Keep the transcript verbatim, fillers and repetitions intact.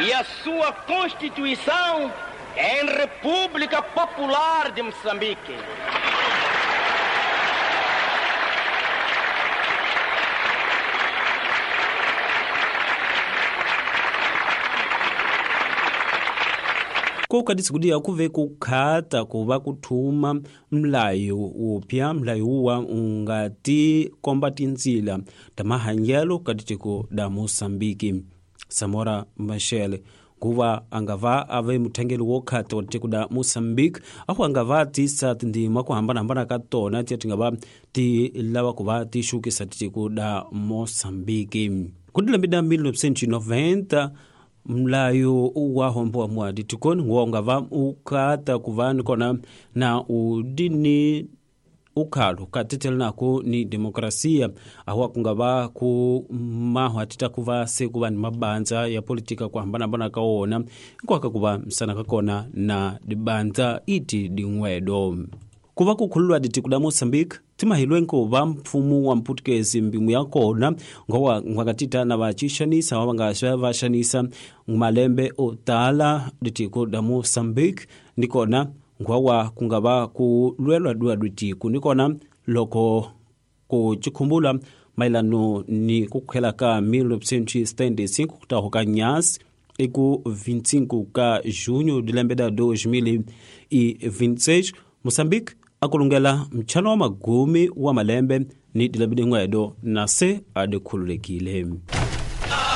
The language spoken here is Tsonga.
E a sua constituição em República Popular de Moçambique. Koka disikudia kuve kukhata kuva kuthuma mlayo upya mlayo uwa ungati komba tinzila ta mahanyelo ka tiko da Moçambique. Samora Machel kuva angava ave muthengeli wo khata wa tiko da Moçambique ahu angava tisa tindima ku hambanahambana ka tona tiya ti nga va ti lava ku va ti xukisa tiko da Moçambique. Ku dilembe da mil novecentos e noventa mlayo wa hombo wa ditikoni wa ungava ukata kuva nikona na udini ukhalo katetela nako ni demokrasia awa kungava ku maho atita kuva se kuva ni mabandza ya politika ku hambanahambana ka wona nkwaka kuva msana ka kona na dibandza iti din'wedo. Kuva kukhululwa ditiko da Moçambique timahilwe nkuva mfumo wa mputukezi mbimu ya kona ngowa ngwakatita na vachixanisa wa vanga vaxanisa malembe o tala ditiko da Moçambique nikona ngwawa kungava ku lwelwa dua ditiko nikona loko ku chikhumbula mailano ni kukhela ka mil novecentos e setenta e cinco kutaho ka nyasi eku vinte e cinco ka junho de lembe da dois mil e vinte e seis Moçambique akulungela mchano wa magumi wa malembe ni dilembe dingwedo na se adekhululekile.